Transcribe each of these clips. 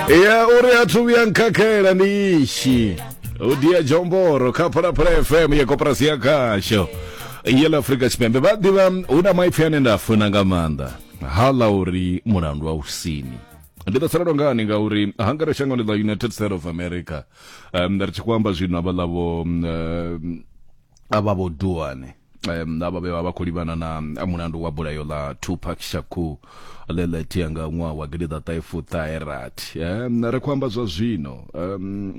Ya uri a thu vhuya nkhakhela ndi ishi u dia jomboro kha Phalaphala FM ya koporasi ya khasho ya ḽa Afrika Tshipembe. Vha ḓivha hu na maipfi ane nda funa nga maanḓa hala uri mulandu wa usini ndi ḓo salelwa ngani ngauri hangare shangoni ḽa United States of America ri tshi khou amba zwino havhaḽa vho avha vho Duane avha vhe vha vha khou livhana na mulandu wa bulayo ḽa Tupac Shakur ḽe ḽa itea nga ṅwaha wa gidiḓaṱahe fuṱahe rathi. Ri khou amba zwa zwino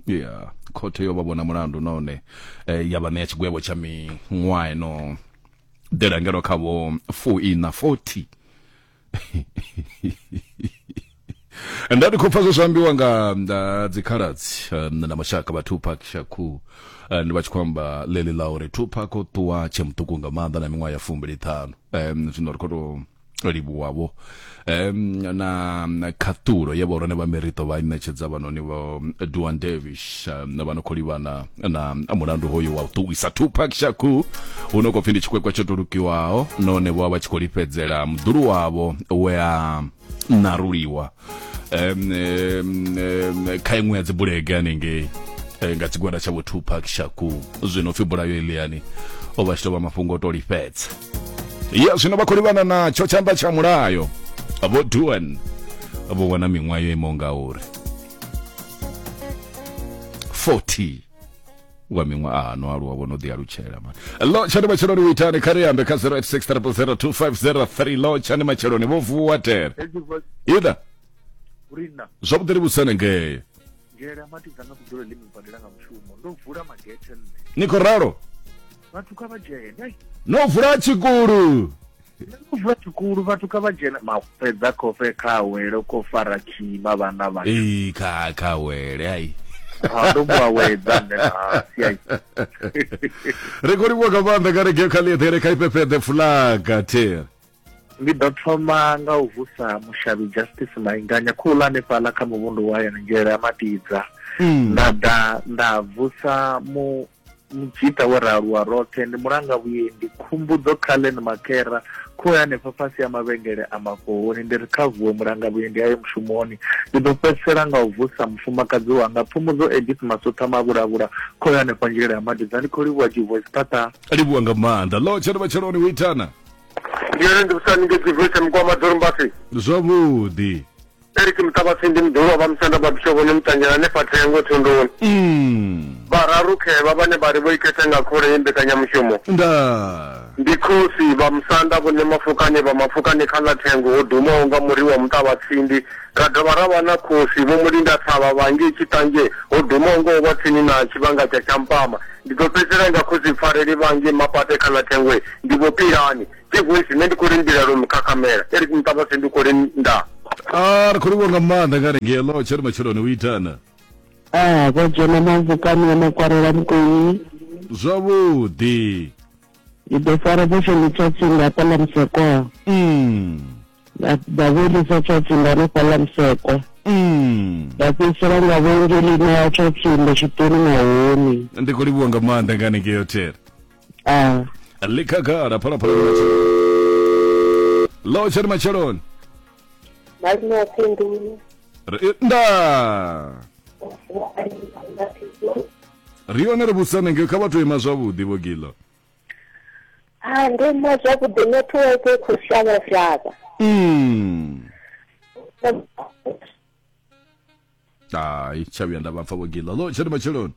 ya khothe yo vha vhona mulandu nahone ya vha ṋea tshigwevho tsha miṅwaha ino ḓela ngeno kha vho fuiṋa 40. Nda ndi khou pfa zwe zwa ambiwa nga dzikhaladzi na mashaka vha Tupac Shakur, ndi vha tshi khou amba ḽeḽi ḽa uri Tupac o ṱuwa tshe muṱuku nga maanḓa na miṅwaha ya fumbili ṱhanu. Zwino ri khou tou livhuwa-vho na khaṱulo ye vhahulwane vha miriṱo vha i ṋetshedza vhanoni vho Duan Davis vha no khou livhana na mulandu hoyu wa u ṱuwisa Tupac Shakur hu no khou pfi ndi tshikwekwe tsho tulukiwaho nahone vho vha vha tshi khou lifhedzela muḓulu wavho we a naruliwa kha iṅwe ya dzibulege hanengei nga tshigwada tsha vho Tupac Shakur. Zwino pfi bulayo eliani o vha tshi tou vha mafhungo o to lifhedza. Ya zwino vha khou livhana natsho tshanḓa tsha mulayo vho Duan vho wana miṅwaha yo imaho ngauri 40 wa miṅwaha no aluwa vho no ḓi alutshela mani. Lo tshani matsheloni u itani kha ri ambe kha 086 0002503. Lo tshani matsheloni vho vuwa tere ida zwavhuḓi ri vhusane ngei Nzhele matidza nga vhudzulo ḽi mubadela nga mushumo ndo vula magethe nṋe. Ni khou ralo? Vhathu kha vha dzhene. No vula tshikulu. No vula tshikulu vhathu kha vha dzhene. Mafhedza khofhe kha wele khou fara khima vhana vha. Ee kha kha wele ai. Ha ndo mu awedza nṋe na si ai. Ri khou livhuwa nga maanḓa kha regeo kha ḽieḓele kha ifhefheḓe fulaga there. Ndi ḓo thoma nga u vusa mushavhi Justice Mainganya khouḽa hanefhaḽa kha muvhundu wa hayani Nzhele ya Matidza. Nda ḓa nda vusa mu mudzhita we ra aluwa roṱhe ndi mulanga vhuendi Khumbudzo Cullen Makhera khoyu hanefha fhasi ha mavhengele a Mafhohoni ndi ri kha vuwe mulanga vhuendi aye mushumoni. Ndi ḓo fhedzisela nga u vusa mufumakadzi wanga Phumudzo Edith Masutha Mavhulavhula khoyu hanefha Nzhele ya Matidza. Ndi khou livhuwa G-Voice Phaṱha. Livhuwa nga maanḓa. Ḽo tshelo matsheloni u itana. Ndi yone ndi vhusani nge G-Voice Mukwama Dorombasi. Zwavhuḓi. Eric Muṱavhatsindi muḓulu wa Vhamusanda vha Bishovhoni Muṱanzhela hanefha Thengo Thunduni. Vhararu khevha vhane vha ri vho ikhetha nga khole ye mbekanyamushumo. Ndaa. Ndi khosi Vhamusanda Vho Ṋemafukani vha Mafukani kha ḽa Thengo ho dumaho nga muri wa Muṱavhatsindi. Ra dovha ra vha na khosi Vho Mulindathavha vha ngei Tshitanzhe ho dumaho nga u vha tsini na tshivhanga tsha Tshampama. Ndi ḓo fhedzisela nga khosi Pfareli vha ngei Mapate kha ḽa Thengwe. Ndi Vho Pilani. G-Voice, nṋe ndi khou ri mbilalo mukhakhamela. Eric Muṱavhatsindi ndi khou ri ndaa. Ah, ri khou livhuwa nga maanḓa nga ri ngelo tshelo matsheloni u itana. Ah, vho dzhena mavukani ya makwarela mukoni. Zwavhuḓi. Ndi ḓo fara bosho tsha tsinga hafhaḽa Musekwa. Nda ḓa vho lisa tsha tsinga hanefhaḽa Musekwa. Nda fhedzisela nga vhengeleni ya tsha tsinga tshiṱoni na hone. Ndi khou livhuwa nga maanḓa nga hanengei hotel. Ah. Ḽi khagala phalaphala ndi matsheloni. Ḽo tshelo matsheloni. Malume wa Phindulo. Ndaa. Ri yone ri vhusane ngei kha vha tou ima zwavhuḓi vho Gilo. Ah, ndo ima zwavhuḓi network i khou shavha shavha. Hai, tsha vhuya nda vha pfa vho Gilo. Ḽo tshelo matsheloni.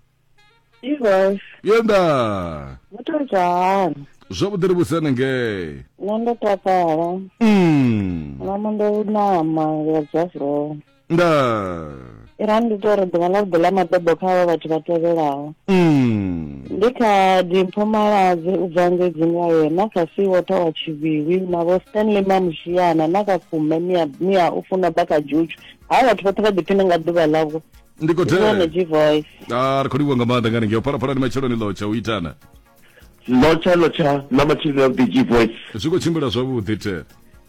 Ivoice. Yenda. Muthu njani? Zwavhuḓi ri vhusane ngei. Nṋe ndo takala. Na ndo nama ya Jafro. Nda. Ira ndi to ri ḓuvha ḽa vhuḓi ḽa mabebo kha havha vhathu vha tevhelaho. Ndi kha Dimpho Maladze u bva ngei Dzingaye na kha Seawater wa Tshivhilwi na vho Stanley Mamushiana na kha Khume Mia Mia u funa baka Juju. Havha vhathu vhoṱhe vha ḓiphine nga ḓuvha ḽavho. Ndi khou Ndi vhone G-Voice. Ah, ri khou livhuwa nga maanḓa nga hanengei. Phalaphala ndi matsheloni ḽotsha u itana. Lotsha lotsha na matsheloni avhuḓi G-Voice. Zwi khou tshimbila zwavhuḓi the.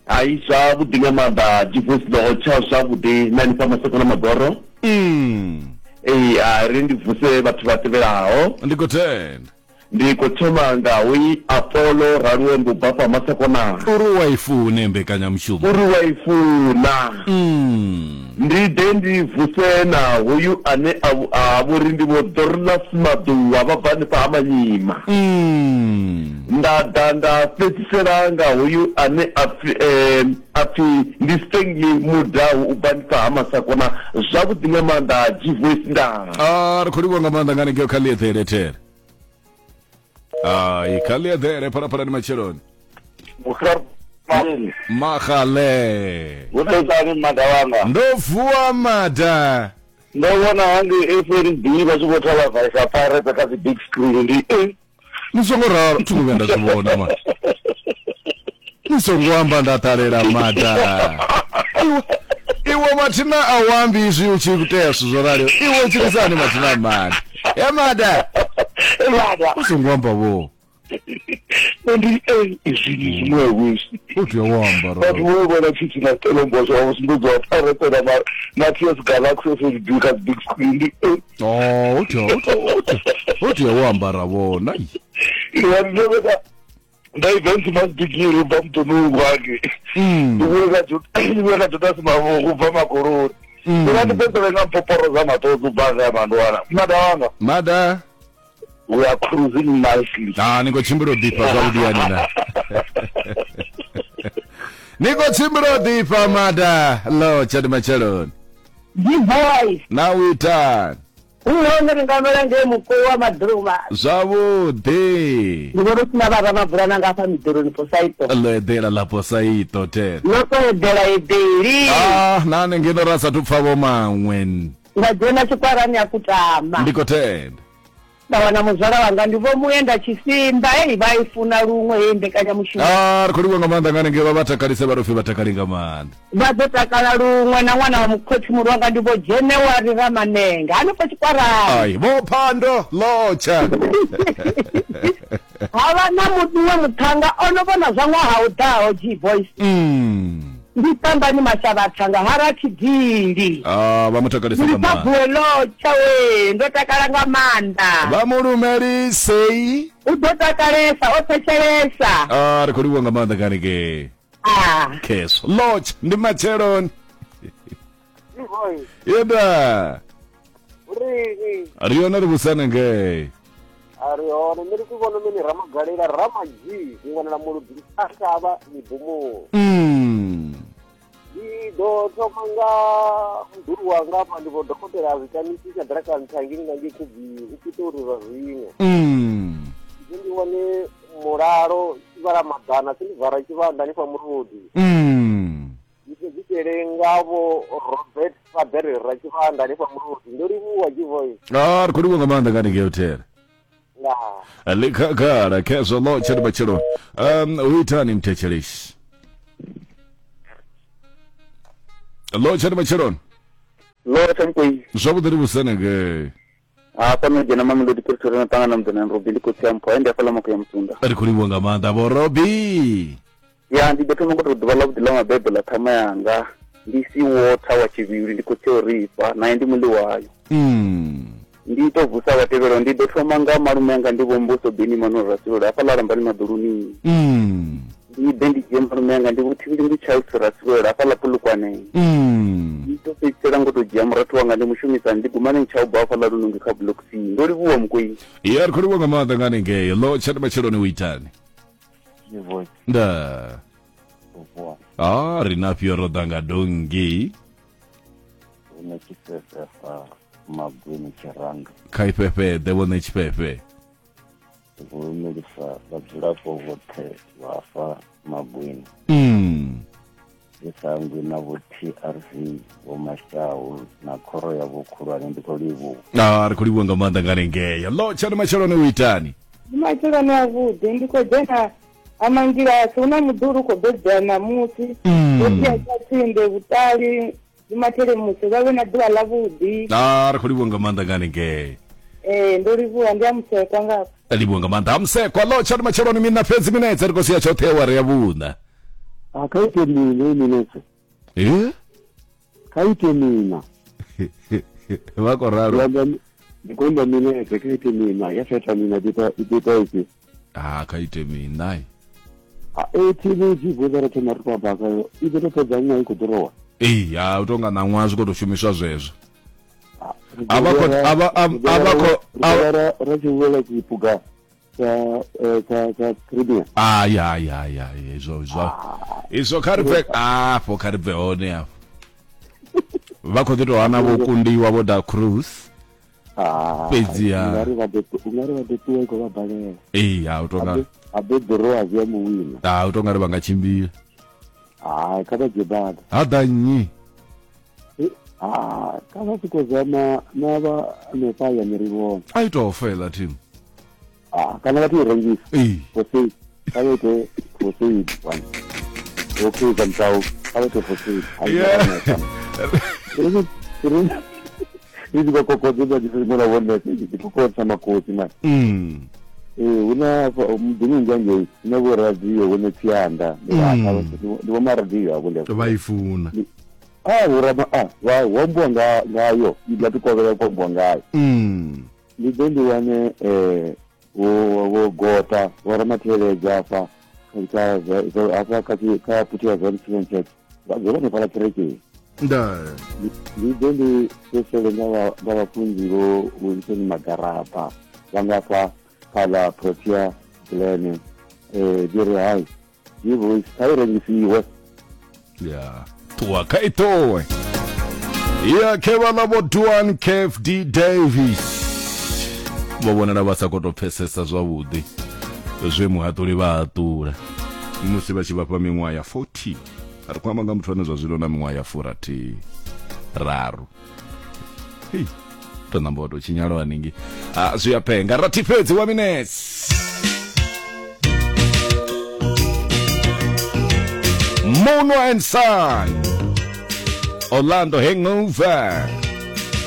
Hai zwavhuḓi nga maanḓa G-Voice lotsha zwavhuḓi na hanefha Maseko na Magoro. Ee, a ri ndi vuse vhathu vha tevhelaho. Ndi khou tenda. Ndi khou thoma nga hoyi Apollo Raluembo ubva fha Masakona. Uri u a i fune mbekanyamushumo. Uri u a i funa. Ndi ḓe ndi vuse na hoyu ane a a vho ri ndi Vho Dorlas Maḓuwa vha bva hanefha ha Manyima. Nda ḓa nda fhedzisela nga hoyu ane a pfi a pfi ndi Stanley Mudau u bva hanefha ha Masakona. Zwavhuḓi nga maanḓa Gvoice ndaa. Ah, ri khou livhuwa nga maanḓa nga hanengei kha ḽieḓele there. Ai, kha ḽieḓele phalaphala ndi matsheloni. Magale. Hu ḓo itani mada wanga? Ndo vuwa mada. Ndo vhona hangei FNB vha tshi vho thalavhaisa Pirates kha dzi big screen ndi eh. Ni songo ralo, thi ngo vhuya nda zwi vhona mani. Ni songo amba nda ṱalela mada. Iwe iwe mathina a u ambi izwi u tshi tea zwithu zwo raliho. Iwe u tshilisani mathina mada. Ya mada. Mada. U songo amba vho. Ndi izwi ndi zwiṅwe izwi. U tea u amba Vhathu ralo. vho vhona Chiefs na Stellenbosch vha vho sumbedziwa Pirates na ma- na TS Galaxy FNB kha dzi big screen ndi eh. Oh, u tea u tea u tea u tea u ambara vhona. Iwe ndi vheka nda events must begin u bva muḓoni wange. Ndi vhuye ka ndi vhuye ka Jonas Mavhungu u bva Makoloni. Ndi nga ndi fhedzisele nga mpoporo dza maṱodzi u bva ngea Mandwana. Mada wanga. Mada. We are cruising nicely. Ah, ni khou tshimbila u ḓifha zwavhuḓi yani na. Ni khou tshimbila u ḓifha mada. Lo tshadi matsheloni. G-boy. Na u itani? Hu hone ri nga mela ngei mukowi wa maḓuvha. Zwavhuḓi. Ndi vhona u sina vha ramabulana nga hafha miḓoroni Posaito. Ḽo eḓela ḽa Posaito te. Ḽo to eḓela eḓeli. Ah, na hanengei ra sathu pfa vho maṅwe. Nda dzhena tshikwarani ya kutama. Ndi khou tenda. Nda wana muzwala wanga ndi Vho Muenda Tshisimba, hei vha i funa luṅwe heyi mbekanyamushumo. Ah, ri khou livhuwa nga maanḓa nga hanengei vha vha takalise vha ro pfi vha takale nga maanḓa. Vha ḓo takala luṅwe na ṅwana wa mukhotsimulu wanga ndi Vho Dzhenewari Ramanenge hanefho tshikwarani. Ai, Vho Phando Lotsha. Ha vha na muṅwe muṱhannga o no vhona zwa ṅwaha u ḓaho G-Voice. Ndi Tambani Mashavhathanga ha Rathidili. Ah, vha mu takalisa Ndi nga maanḓa. Thabuwe Lotsha wee, ndo takala nga maanḓa. Vha mu lumelisei. U ḓo takalesa, o thetshelesa. Ah, ri khou livhuwa nga maanḓa kani ke. Ah. Khezwo. Lotsha, ndi matsheloni. Yeda. Rini. Ri yone ri vhusane ngei. A ri hone nṋe ndi tshi vhona mini Ramagalela Ramadzhi ndi wanala Muludzi Ashavha Mibumuni. Ndi ḓo thoma nga muḓulu wanga afha ndi vho dokotela a zwitamisi tsha ḓiraka nṱha ngei nga ngei Khubvi u Pitori zwa zwino. Ndi ndi wane mulalo tshivhala maḓana silivara tshivhanda hanefha Muludzi. Ndi fhedzisele nga vho Robert Faber Ratshivhanda hanefha Muludzi. Ndo livhuwa G-Voice. Ah, ri khou livhuwa nga maanḓa nga hanengei hotel. Ndaa. Ḽi khagala khezwo ḽo tsha ndi matsheloni. Hu itani mthetshelesi? Ḽo tsha ndi matsheloni. Ḽo tsha mukoi. Zwavhuḓi ri vhusane ngei. Hafha no dzhena Mamelodi Pretoria no ṱangana muḓini na Robi ndi khotsi ya mpho ende hafhaḽa Makuya Musunda. Ri khou livhuwa nga maanḓa vho Robi. Ya ndi ḓo thoma ngo tou ḓuvha ḽa vhuḓi ḽa mabebo ḽa ṱhama yanga ndi si water wa tshivhili ndi khotsi o rifha naye ndi muḽi wayo. Ndi tou vusa vha tevhelaho ndi ḓo thoma nga malume anga ndi vho Mbuso Beni Manuel Rasilolo hafhaḽa Lambani Maḓuluni. Ndi ḓe ndi dzhie malume anga ndi vho Thivhili ndi Charles Rasilolo hafhaḽa Polokwane. Ndi ḓo fhedzisela ngo tou dzhia murathu wanga ndi mushumisani ndi Gumani Ntshaubwa hafhaḽa Lunungi kha Block C. Ndo livhuwa Mukwei. Ya ri khou livhuwa nga maanḓa nga hanengei ḽo tsha ndi matsheloni u itani. Nda. Ah, ri na fhio ro ḓa nga donngi. Hune tshifhefe fa Magwini Tshiranga. Kha ifhefheḓe vhone tshifhefe. Ndi khou lumelisa vhadzulapo vhoṱhe vha afha Magwini. Ndi sa hangwi na vho TRV, Vho Mashau na khoro yavho khulwane ndi khou livhuwa. Ah, ri khou livhuwa nga maanḓa nga hanengei. Ḽo tsha ndi matsheloni u itani. Ndi matsheloni avhuḓi ndi khou dzhena ha Mangilasi hu na muḓulu u khou bebwa ṋamusi. Vho sia tsha tsinde vhuṱali ndi mathelemusi vha vhe na ḓuvha ḽavhuḓi. Ah, ri khou livhuwa nga maanḓa nga hanengei. Ee ndo livhuwa ndi a musekwa nga hafha. Livhuwa nga maanḓa. Ha Musekwa ḽo tsha ndi matsheloni mina fhedzi minetse ri khou sia tshoṱhe awara ya vhuṋa. A kha ite mina heyi minetse. Eh? Kha ite mina. Vha khou ralo. Ndi khou imba minete kha ite mina ya fhetha mina i ḓo ita ifhio? Ha kha ite mina. A e thimu dzi bvudza ro thoma ri khou amba ngayo i ḓo to fhedza ṅwaha i khou ḓirowa. Ee, ha u tonga ṋaṅwaha zwi khou tou shumiswa zwezwo. A vha khou a vha a vha khou ra tshi wela tshipuga tsha tsha tsha Premier. Ai ai ai ai izwo izwo izwo kha ri bve afho kha ri bve hone afho. Vha khou ḓi tou hana vho kundiwa vho da Cruz. Fhedzi ha ungari vha ḓo ungari vha ḓo ṱuwa i khou vha balela. Ee, ha u tonga a ḓo ḓirowa zwi a muwina. Ha u tonga ri vha nga tshimbila. Hai kha vha dzhie bada. Ha ḓa nnyi? Ha kha vha siko zama na vha hanefha hayani ri vhone. A i tou fela team. Ah, kana vha tou rengisa. Ee. For sale. Kha vha ite for sale one. Okay, Zamtau. Kha vha ite for sale. Yeah. Ri tshi khou kokodza dza tshi mona vhone tshi kokodza makosi man. Ee, hu na muḓini unzhi hangei hu na vho radio vho Ṋetsianda ndi vho maradio avho ndi vha i funa. Ah, vho rama ah, vha hu ambiwa nga ngayo i ḓa tou kovhela ku ambiwa ngayo. Ndi ḓe ndi wane vho vho gota vho ramatheledza hafha kha hafha kha kha phuthi ya Zion Christian Church vha dzula hanefhaḽa kerekeni. Nda. Ndi ḓe ndi fhedzisele nga vha nga vhafunzi vho Wilson Magaraba vha nga fha kha ḽa Protea Glen ndi ri hai G Voice kha i rengisiwe. Ya. Ṱuwa kha i ṱuwe. Ya khe vhaḽa vho Duan KFD Davis vho vhonala vha sa khou tou pfesesa zwavhuḓi zwe muhaṱuli vha haṱula musi vha tshi vha fha miṅwaha ya 40 ri khou amba nga muthu ane zwa zwino na miṅwaha ya furathi raru hei to namba wa tou tshinyalo haningei ah, zwi a penga rathi fhedzi wa minutes Mono and Son Orlando Hangover.